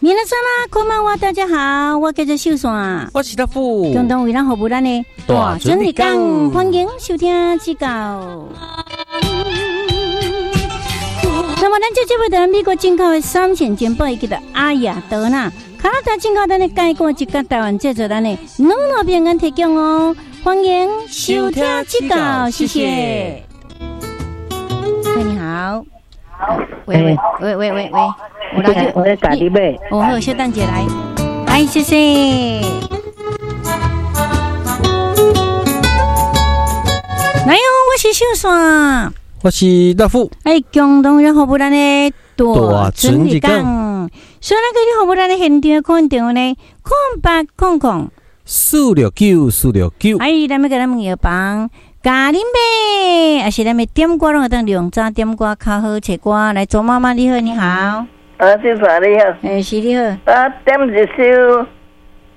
皆さんこんばんは，大家好，我叫做秀山，我是大富，共同為咱服務咱的大准日講，歡迎收聽這個。那麼，咱這這位的美國進口的三線珍寶，叫做阿亞德納，加拿大進口咱的蓋過一個台灣製作咱的乳酪餅乾提供哦，歡迎收聽這個，謝謝。喂，你好。喂喂喂喂喂喂，我來我來家己買。哦好，小等一下來，來謝謝。來哦，我是秀山，我是大富。哎，共同來服務咱的大准日講，所以咱去服務咱的現場看電話呢，0800 469 469。哎，咱欲共咱問藥房。教恁買，抑是咱欲點歌攏會當兩早點歌較好揣歌。來，左媽媽你好，你好。啊，秀山你好。欸，是你好。我點一首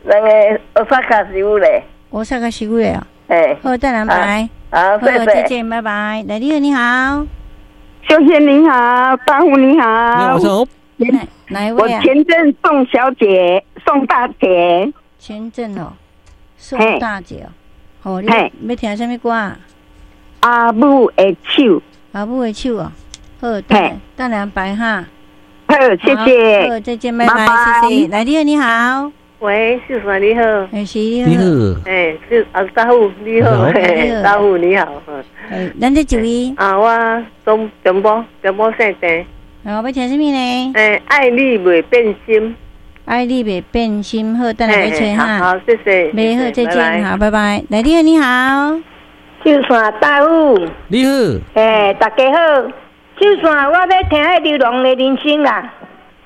那个大阪師傅咧。大阪師傅咧哦。欸。好，等下拜。好，謝謝。再見，拜拜。來，你好，你好。秀仙你好，大富你好。你好。哪一位啊？我前鎮宋小姐，宋大姐。前鎮哦，宋大姐哦。哦，你欲聽啥物歌？阿母的手。阿母的手哦，好，等等下排哈。好，謝謝。好，再見，拜拜，謝謝。來，你好，你好。喂，秀山你好。欸，是你好。你好。欸，是阿大富你好，大富你好。欸，咱這一位。啊，我中中部中部姓鄭。哦，欲聽啥物呢？欸，愛你袂變心。愛你袂變心，好，等下去揣哈。好，謝謝。沒好，再見，好，拜拜。來，你好，你好。秀山大富。你好。欸，大家好。秀山，我欲聽彼流浪的人生啦。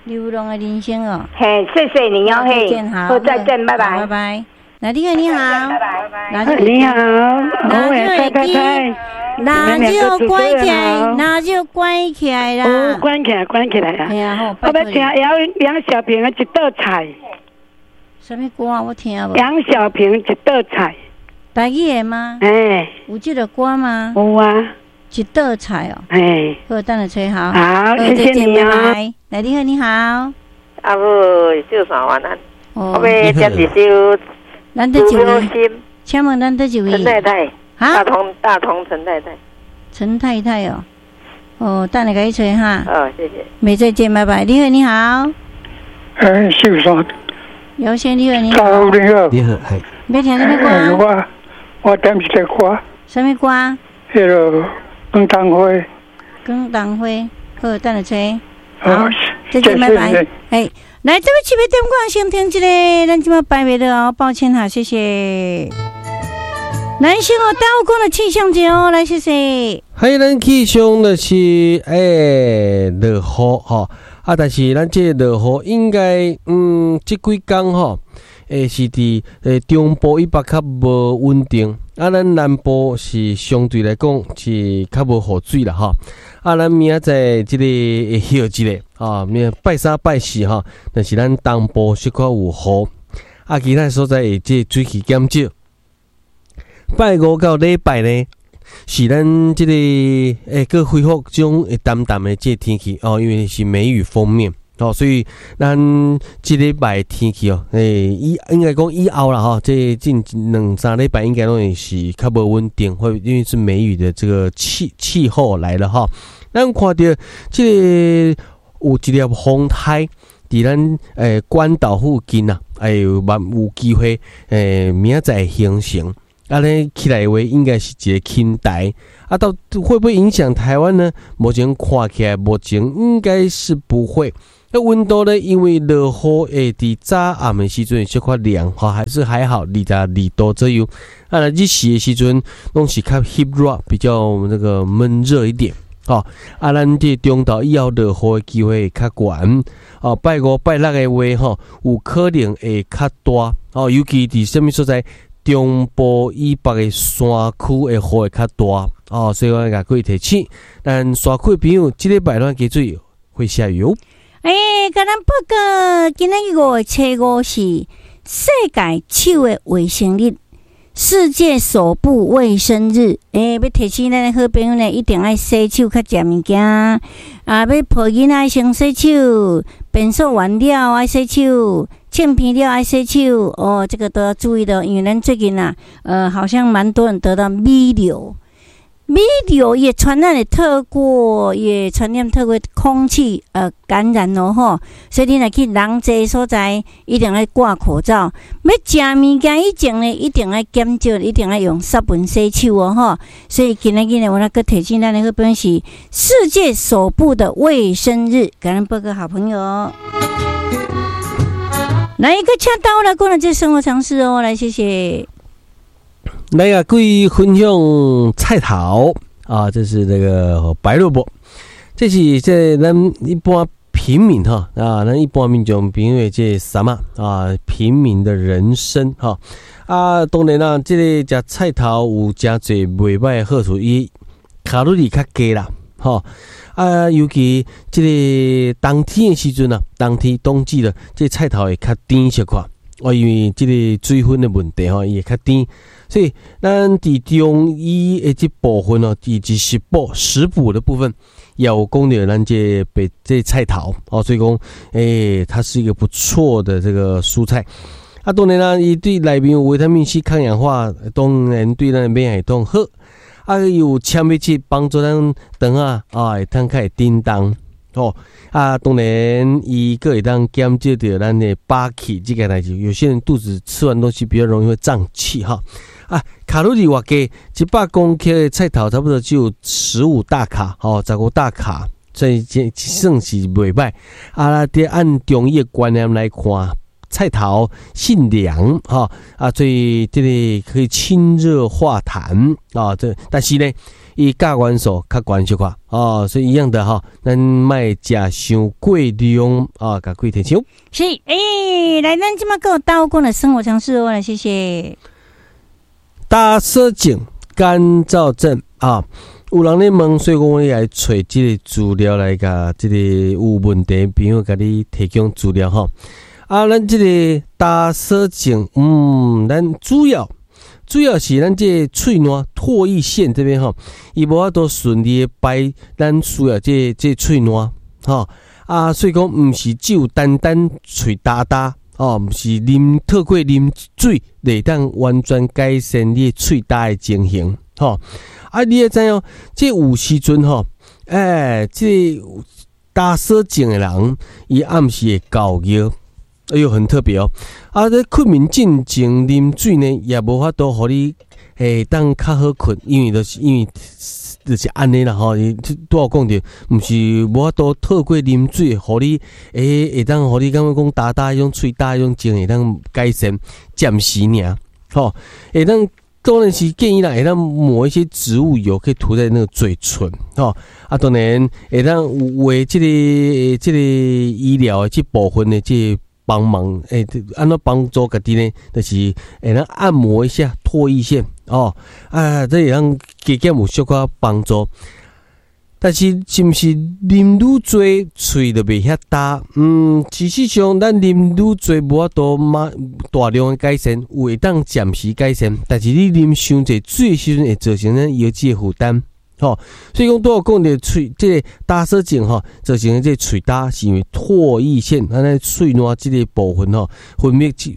流浪的人生哦。嘿，謝謝你哦，再見，好，再見，拜拜。拜拜。來，你好，你好。拜拜。你好，我太太太。那就關起來，那就關起來啦。哦，關起來，關起來啦。係啊，好。我欲聽楊小平的一道菜。啥物歌我聽無？楊小平一道菜。台語的嗎？欸。有這個歌嗎？有啊。一道菜哦。欸。好，等下揣好。好，謝謝你啊。來，你好，你好。阿母，秀山晚安。我欲點一首。咱佗一位？請問咱佗一位？陳太太。大同大同陳太太。陳太太哦，哦，等下共你揣哈。哦，謝謝。沒再見，拜拜。你好，你好。欸，秀山。姚先你好，你好。你好。你好，係。欲聽啥物歌？我點一個歌。啥物歌？彼個廣東花。廣東花，好，等下揣。好，再見，拜拜。哎，來，這位七八點歌，先聽一個，咱這馬排袂落哦，抱歉哈，謝謝。來，先哦，耽誤講的氣象節哦，來，謝謝。還咱氣象就是欸落雨吼，啊，但是咱這個落雨應該，這幾工吼，欸是佇欸中部以北較無穩定，啊，咱南部是相對來講是較無雨水啦吼。啊，咱明仔載這個會歇一下，啊，明拜三拜四吼，但是咱東部小可有雨，啊，其他所在會這個水汽減少。拜五到禮拜呢，是咱這個欸，閣恢復這種會澹澹的這個天氣哦，因為是梅雨鋒面哦，所以咱這禮拜天氣哦，欸，以應該講以後啦吼，這近兩三禮拜應該攏會是較無穩定，會因為是梅雨的這個氣候來了哈。咱看著這個有一粒風台佇咱欸關島附近啊，欸有機會欸明仔載形成。啊，咧起來的話，應該是一個輕台啊，到會不會影響台灣呢？目前看起來，目前應該是不會。那溫度呢？因為落雨會佇早暗的時陣小可涼，吼，還是還好，22度左右。啊，若日時的時陣，攏是較翕熱，比較那個悶熱一點。吼，啊，咱這中晝以後落雨的機會較懸。哦，拜五、拜六的話，吼，有可能會較大。哦，尤其佇啥物所在？中部以北的山區會雨會較大哦，所以我共各位提醒，咱山區的朋友，這禮拜攏加注意會下雨哦。欸，共咱報告，今仔日5月初5是世界手的衛生日，世界手部衛生日。欸，欲提醒咱的好朋友呢，一定愛洗手，較食物件。啊，欲抱囡仔先洗手，便所完了愛洗手，擤鼻了愛洗手哦，這個都要注意的，因為咱最近啊，好像蠻多人得到米瘤。米瘤也傳染的透過，也傳染透過空氣感染哦吼，所以你若去人濟所在，一定愛掛口罩。欲食物件以前呢，一定愛檢照，一定愛用殺菌洗手哦吼。所以今仔日呢，我來閣提醒咱的好朋友是世界手部的衛生日，感恩報告好朋友。來一個請到來過來這生活常識哦，來謝謝。來啊，各位分享菜頭啊，這是那個白蘿蔔，這是這咱一般平民哈啊，咱一般民眾朋友這啥嘛啊，平民的人生哈啊，當然啦，這個食菜頭有誠濟袂䆀的好處，伊卡路里較低啦，吼啊，尤其這個冬天的時陣啊，冬天冬季的這個菜頭會較甜小可。哦，因為這個水分的問題吼，伊會較甜，所以咱佇中醫的這部分哦，以及食補的部分，也有講著咱這白這菜頭哦，所以講，它是一個不錯的這個蔬菜。啊，當然啦，伊對內面有維他命 C 抗氧化，當然對咱的免疫系統好。啊，有纖維質幫助咱腸仔啊，會當較會振動。哦，啊，當然，伊閣會當減少著咱的飽氣這個代誌。有些人肚子吃完東西比較容易會脹氣哈。啊，卡路里偌低，100公克的菜頭差不多只有15大卡，吼，15大卡，所以這算是袂䆀。啊，佇按中醫的觀念來看，菜頭性涼，哈，啊，所以這個可以清熱化痰啊。這但是呢，伊鉀元素較懸小可哦，所以一樣的哈，咱莫食傷過量啊，共各位提醒。是，來，咱這馬閣有大講的生活常識哦，來，謝謝。乾燥症、乾燥症啊，有人咧問，所以講我來揣這個資料來共這個有問題朋友共你提供資料吼。啊，咱這個乾燥症，咱主要是咱這個喙瀾唾液腺這邊吼，伊無法度順利的排咱需要這喙瀾吼啊，所以講毋是只有單單喙焦焦哦，毋是啉透過啉水會當完全改善你的喙焦的情形吼。啊，你會知影，這有時陣吼，這個乾燥症的人，伊暗時會猴尿。哎喲，很特別哦！啊，這睏眠進前啉水呢，也無法度予你會當較好睏，因為就是按呢啦吼。伊拄仔講著，毋是無法度透過啉水，予你會當予你感覺講焦焦彼種喙焦彼種症會當改善，暫時爾吼。會當當然是建議啦，會當抹一些植物油，可以塗在那個嘴唇吼。啊，當然會當為這個醫療的這部分的這幫忙，按怎幫助家己呢？就是會當按摩一下唾液腺哦，啊，這會當加減有小可幫助。但是，是毋是啉愈濟喙就袂遐焦？事實上，咱啉愈濟無法度馬大量的改善，有會當暫時改善。但是你啉傷濟水的時陣，會造成咱腰子的負擔。吼，所以講拄仔講著喙這個乾燥症吼，造成的這個喙焦是因為唾液腺，咱的喙瀾這個部分吼，分泌喙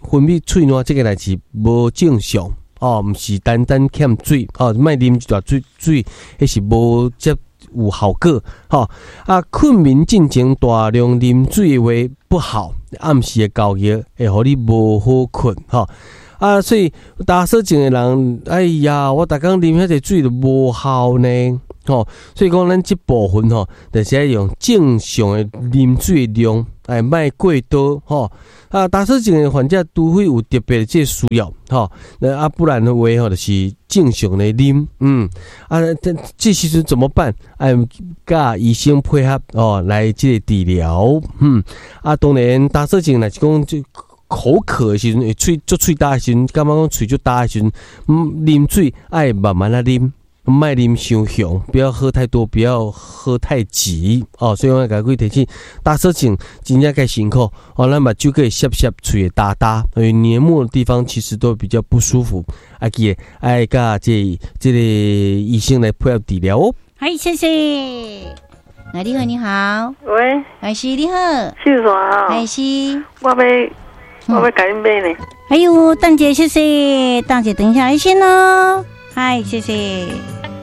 瀾這個代誌無正常哦，毋是單單欠水哦，莫啉一大水水，彼是無遮有效果吼。啊，睏眠進前大量啉水的話不好，暗時的猴尿會予你無好睏吼。啊，所以乾燥症的人，哎呀，我逐工啉遐濟水都無效呢，吼。所以講，咱這部分吼，就是愛用正常的啉水的量，哎，莫過多吼。啊，乾燥症的患者，除非有特別的這個需要，吼，那啊，不然的話吼，就是正常的啉，啊，這時陣怎麼辦？愛佮醫生配合哦，來這個治療，啊，當然乾燥症若是講這口渴的時陣，會喙足喙焦的時陣，感覺講喙足焦的時陣，啉水愛慢慢仔啉，莫啉傷雄，不要喝太多，不要喝太急哦。所以我共各位提醒，乾燥症真正較辛苦哦，咱目睭閣會澀澀，喙會焦焦，因為黏膜的地方其實都比較不舒服。啊，記得愛佮這個醫生來配合治療哦。好，謝謝。來，你好，你好。喂。哎是，你好。秀山啊。哎是。我欲共恁買呢。哎喲，等者謝謝，等者等一下先咯。嗨，謝謝。